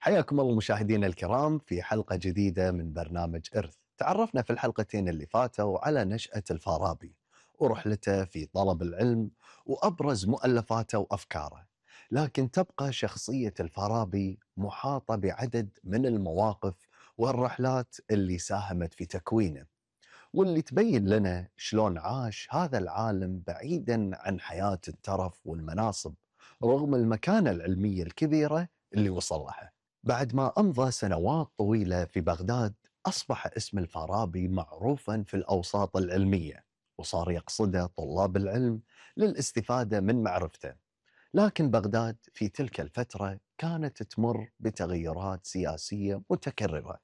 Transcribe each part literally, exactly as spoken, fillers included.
حياكم الله مشاهدينا الكرام في حلقة جديدة من برنامج إرث. تعرفنا في الحلقتين اللي فاتوا على نشأة الفارابي ورحلته في طلب العلم وأبرز مؤلفاته وأفكاره، لكن تبقى شخصية الفارابي محاطة بعدد من المواقف والرحلات اللي ساهمت في تكوينه، واللي تبين لنا شلون عاش هذا العالم بعيدا عن حياة الترف والمناصب رغم المكانة العلمية الكبيرة اللي وصل لها. بعد ما أمضى سنوات طويلة في بغداد، أصبح اسم الفارابي معروفا في الأوساط العلمية، وصار يقصده طلاب العلم للاستفادة من معرفته. لكن بغداد في تلك الفترة كانت تمر بتغيرات سياسية متكررة،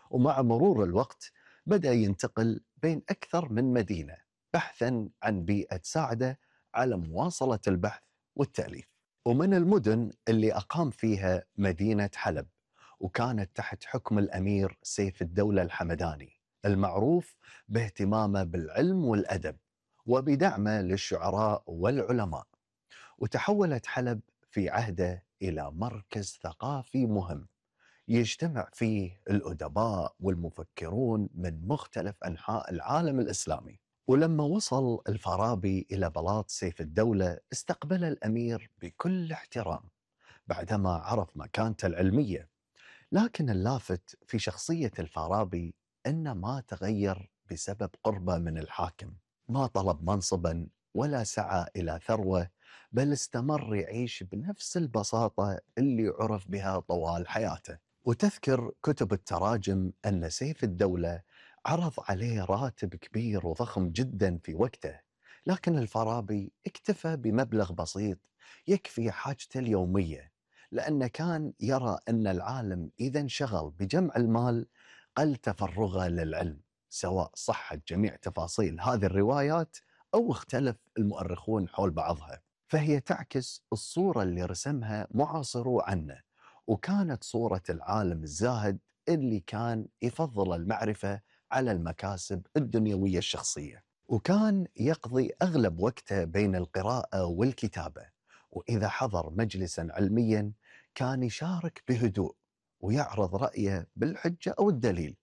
ومع مرور الوقت بدأ ينتقل بين أكثر من مدينة بحثا عن بيئة تساعده على مواصلة البحث والتأليف. ومن المدن اللي أقام فيها مدينة حلب، وكانت تحت حكم الأمير سيف الدولة الحمداني المعروف باهتمامه بالعلم والأدب وبدعمه للشعراء والعلماء. وتحولت حلب في عهده إلى مركز ثقافي مهم يجتمع فيه الأدباء والمفكرون من مختلف أنحاء العالم الإسلامي. ولما وصل الفارابي إلى بلاط سيف الدولة، استقبل الأمير بكل احترام بعدما عرف مكانته العلمية. لكن اللافت في شخصية الفارابي أنه ما تغير بسبب قربه من الحاكم، ما طلب منصبا ولا سعى إلى ثروة، بل استمر يعيش بنفس البساطة اللي عرف بها طوال حياته. وتذكر كتب التراجم أن سيف الدولة عرض عليه راتب كبير وضخم جدا في وقته، لكن الفارابي اكتفى بمبلغ بسيط يكفي حاجته اليومية، لأنه كان يرى أن العالم إذا انشغل بجمع المال قل تفرغه للعلم، سواء صحت جميع تفاصيل هذه الروايات أو اختلف المؤرخون حول بعضها. فهي تعكس الصورة اللي رسمها معاصرو عنه، وكانت صورة العالم الزاهد اللي كان يفضل المعرفة على المكاسب الدنيوية الشخصية. وكان يقضي أغلب وقته بين القراءة والكتابة، وإذا حضر مجلسا علميا كان يشارك بهدوء ويعرض رأيه بالحجة أو الدليل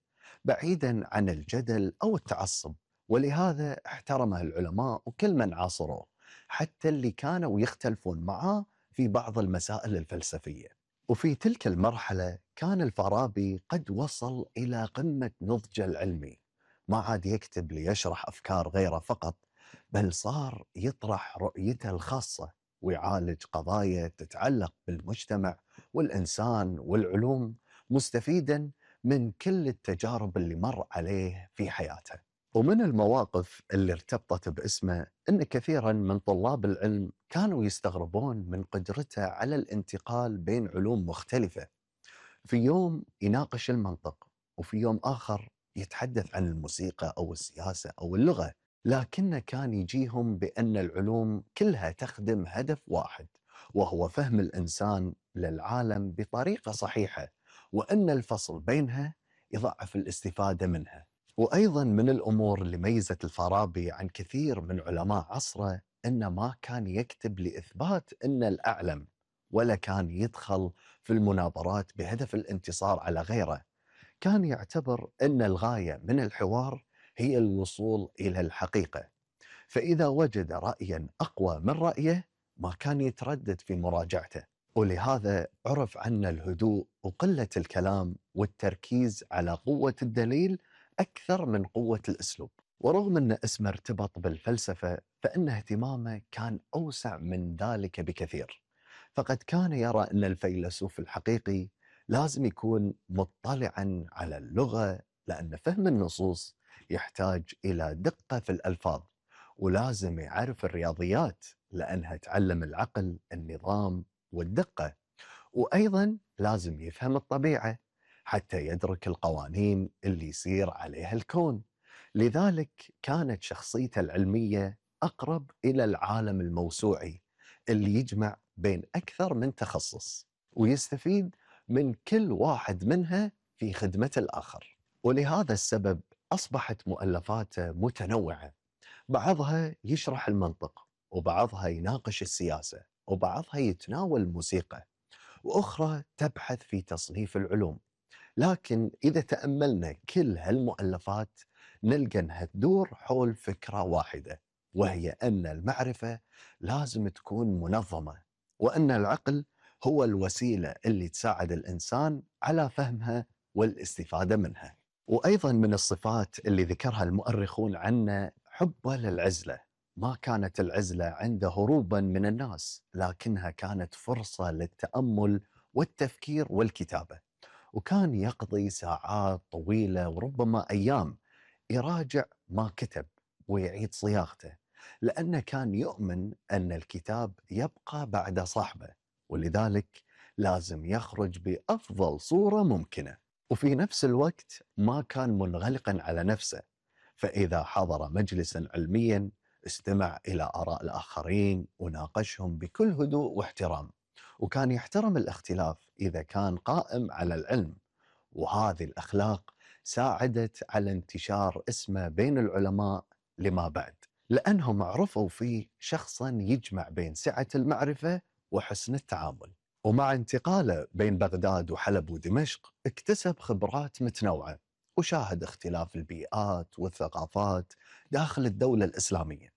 بعيدا عن الجدل أو التعصب. ولهذا احترمه العلماء وكل من عاصروه، حتى اللي كانوا يختلفون معاه في بعض المسائل الفلسفية. وفي تلك المرحلة كان الفارابي قد وصل إلى قمة نضجه العلمي، ما عاد يكتب ليشرح أفكار غيره فقط، بل صار يطرح رؤيته الخاصة ويعالج قضايا تتعلق بالمجتمع والإنسان والعلوم، مستفيدا من كل التجارب اللي مر عليه في حياته. ومن المواقف اللي ارتبطت باسمه أن كثيرا من طلاب العلم كانوا يستغربون من قدرته على الانتقال بين علوم مختلفة، في يوم يناقش المنطق وفي يوم آخر يتحدث عن الموسيقى أو السياسة أو اللغة، لكنه كان يجيهم بأن العلوم كلها تخدم هدف واحد، وهو فهم الإنسان للعالم بطريقة صحيحة، وأن الفصل بينها يضعف الاستفادة منها. وأيضا من الأمور اللي ميزت الفارابي عن كثير من علماء عصره أنه ما كان يكتب لإثبات أن الأعلم، ولا كان يدخل في المناظرات بهدف الانتصار على غيره. كان يعتبر أن الغاية من الحوار هي الوصول إلى الحقيقة، فإذا وجد رأيا أقوى من رأيه ما كان يتردد في مراجعته. ولهذا عرف عنه الهدوء وقلة الكلام والتركيز على قوة الدليل أكثر من قوة الأسلوب. ورغم أن اسمه ارتبط بالفلسفة، فإن اهتمامه كان أوسع من ذلك بكثير، فقد كان يرى أن الفيلسوف الحقيقي لازم يكون مطلعا على اللغة، لأن فهم النصوص يحتاج إلى دقة في الألفاظ، ولازم يعرف الرياضيات لأنها تعلم العقل النظام والدقة، وأيضا لازم يفهم الطبيعة حتى يدرك القوانين اللي يصير عليها الكون. لذلك كانت شخصيته العلمية أقرب إلى العالم الموسوعي اللي يجمع بين أكثر من تخصص ويستفيد من كل واحد منها في خدمة الآخر. ولهذا السبب أصبحت مؤلفاته متنوعة، بعضها يشرح المنطق، وبعضها يناقش السياسة، وبعضها يتناول الموسيقى، وأخرى تبحث في تصنيف العلوم. لكن إذا تأملنا كل هالمؤلفات نلقى أنها تدور حول فكرة واحدة، وهي أن المعرفة لازم تكون منظمة، وأن العقل هو الوسيلة اللي تساعد الإنسان على فهمها والاستفادة منها. وأيضا من الصفات اللي ذكرها المؤرخون عنه حبه للعزلة. ما كانت العزلة عنده هروبا من الناس، لكنها كانت فرصة للتأمل والتفكير والكتابة. وكان يقضي ساعات طويلة وربما أيام يراجع ما كتب ويعيد صياغته، لأنه كان يؤمن أن الكتاب يبقى بعد صاحبه، ولذلك لازم يخرج بأفضل صورة ممكنة. وفي نفس الوقت ما كان منغلقا على نفسه، فإذا حضر مجلسا علميا استمع إلى آراء الآخرين وناقشهم بكل هدوء واحترام، وكان يحترم الاختلاف إذا كان قائم على العلم. وهذه الأخلاق ساعدت على انتشار اسمه بين العلماء لما بعد، لأنهم عرفوا فيه شخصا يجمع بين سعة المعرفة وحسن التعامل. ومع انتقاله بين بغداد وحلب ودمشق اكتسب خبرات متنوعة، وشاهد اختلاف البيئات والثقافات داخل الدولة الإسلامية،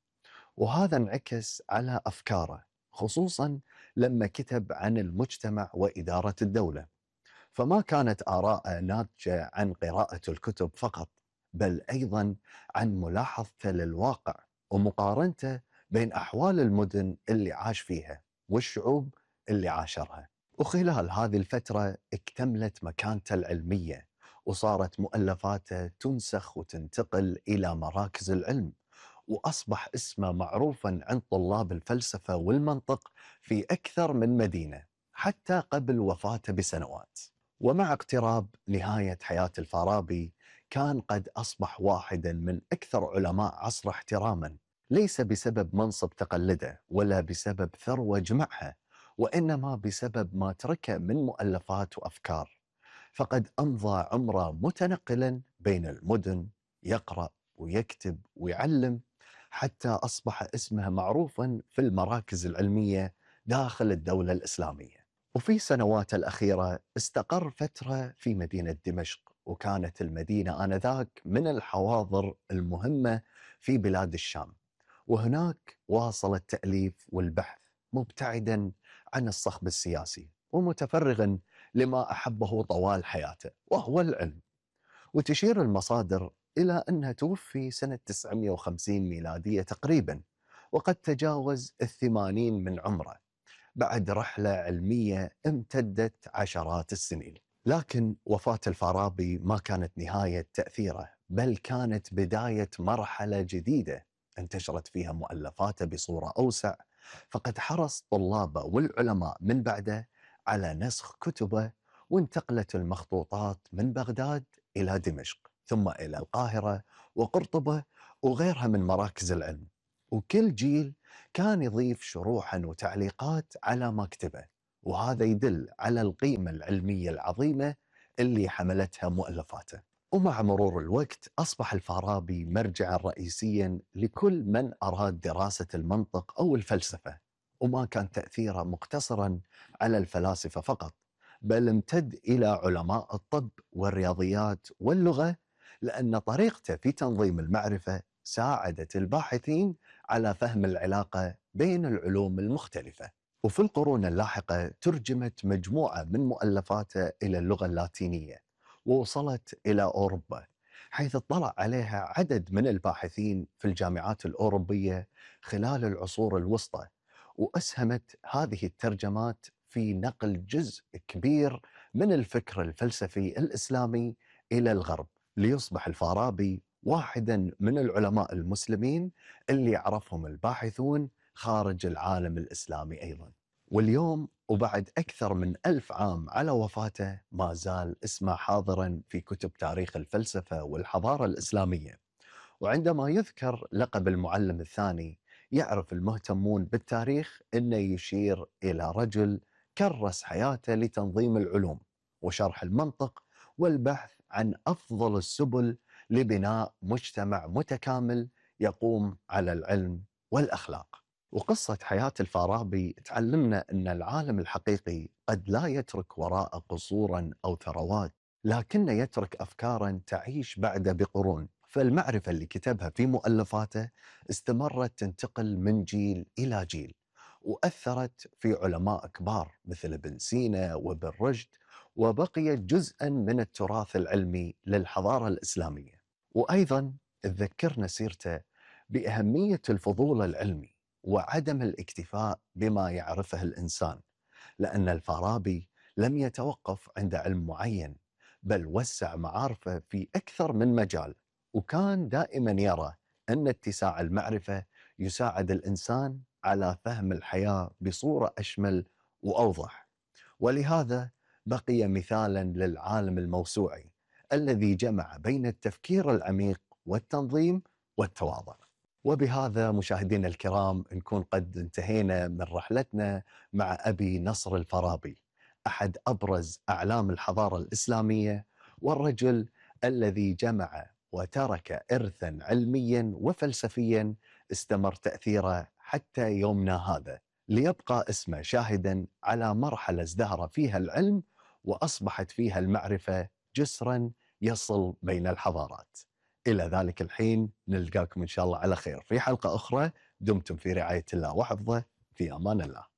وهذا انعكس على أفكاره، خصوصا لما كتب عن المجتمع وإدارة الدولة. فما كانت آراءه ناتجة عن قراءة الكتب فقط، بل أيضا عن ملاحظته للواقع ومقارنته بين أحوال المدن اللي عاش فيها والشعوب اللي عاشرها. وخلال هذه الفترة اكتملت مكانته العلمية، وصارت مؤلفاته تنسخ وتنتقل إلى مراكز العلم، وأصبح اسمه معروفا عند طلاب الفلسفة والمنطق في أكثر من مدينة حتى قبل وفاته بسنوات. ومع اقتراب نهاية حياة الفارابي كان قد أصبح واحدا من أكثر علماء عصره احتراما، ليس بسبب منصب تقلده ولا بسبب ثروة جمعها، وإنما بسبب ما تركه من مؤلفات وأفكار. فقد أمضى عمره متنقلا بين المدن يقرأ ويكتب ويعلم، حتى أصبح اسمه معروفا في المراكز العلمية داخل الدولة الإسلامية. وفي سنواته الأخيرة استقر فترة في مدينة دمشق، وكانت المدينة آنذاك من الحواضر المهمة في بلاد الشام، وهناك واصل التأليف والبحث مبتعدا عن الصخب السياسي ومتفرغا لما أحبه طوال حياته وهو العلم. وتشير المصادر إلى أنه توفي سنة تسعمئة وخمسين ميلادية تقريبا، وقد تجاوز الثمانين من عمره بعد رحلة علمية امتدت عشرات السنين. لكن وفاة الفارابي ما كانت نهاية تأثيره، بل كانت بداية مرحلة جديدة انتشرت فيها مؤلفاته بصورة أوسع. فقد حرص طلابه والعلماء من بعده على نسخ كتبه، وانتقلت المخطوطات من بغداد إلى دمشق، ثم إلى القاهرة وقرطبة وغيرها من مراكز العلم. وكل جيل كان يضيف شروحا وتعليقات على ما كتبه، وهذا يدل على القيمة العلمية العظيمة اللي حملتها مؤلفاته. ومع مرور الوقت أصبح الفارابي مرجعا رئيسيا لكل من أراد دراسة المنطق أو الفلسفة، وما كان تأثيره مقتصرا على الفلاسفة فقط، بل امتد إلى علماء الطب والرياضيات واللغة، لأن طريقته في تنظيم المعرفة ساعدت الباحثين على فهم العلاقة بين العلوم المختلفة. وفي القرون اللاحقة ترجمت مجموعة من مؤلفاته إلى اللغة اللاتينية ووصلت إلى أوروبا، حيث اطلع عليها عدد من الباحثين في الجامعات الأوروبية خلال العصور الوسطى. وأسهمت هذه الترجمات في نقل جزء كبير من الفكر الفلسفي الإسلامي إلى الغرب، ليصبح الفارابي واحدا من العلماء المسلمين اللي يعرفهم الباحثون خارج العالم الإسلامي أيضا. واليوم وبعد أكثر من ألف عام على وفاته ما زال اسمه حاضرا في كتب تاريخ الفلسفة والحضارة الإسلامية. وعندما يذكر لقب المعلم الثاني يعرف المهتمون بالتاريخ أنه يشير إلى رجل كرس حياته لتنظيم العلوم وشرح المنطق والبحث عن أفضل السبل لبناء مجتمع متكامل يقوم على العلم والأخلاق. وقصة حياة الفارابي تعلمنا أن العالم الحقيقي قد لا يترك وراءه قصورا أو ثروات، لكنه يترك أفكارا تعيش بعده بقرون. فالمعرفة اللي كتبها في مؤلفاته استمرت تنتقل من جيل إلى جيل، وأثرت في علماء كبار مثل ابن سينا وابن رشد، وبقيت جزءا من التراث العلمي للحضارة الإسلامية. وأيضا تذكرنا سيرته بأهمية الفضول العلمي وعدم الاكتفاء بما يعرفه الإنسان، لأن الفارابي لم يتوقف عند علم معين، بل وسع معارفه في أكثر من مجال، وكان دائما يرى أن اتساع المعرفة يساعد الإنسان على فهم الحياة بصورة أشمل وأوضح. ولهذا بقي مثالا للعالم الموسوعي الذي جمع بين التفكير العميق والتنظيم والتواضع. وبهذا مشاهدينا الكرام نكون قد انتهينا من رحلتنا مع أبي نصر الفارابي، أحد أبرز أعلام الحضارة الإسلامية، والرجل الذي جمع وترك إرثا علميا وفلسفيا استمر تأثيره حتى يومنا هذا، ليبقى اسمه شاهدا على مرحلة ازدهر فيها العلم وأصبحت فيها المعرفة جسرا يصل بين الحضارات. إلى ذلك الحين نلقاكم إن شاء الله على خير في حلقة أخرى. دمتم في رعاية الله وحفظه، في أمان الله.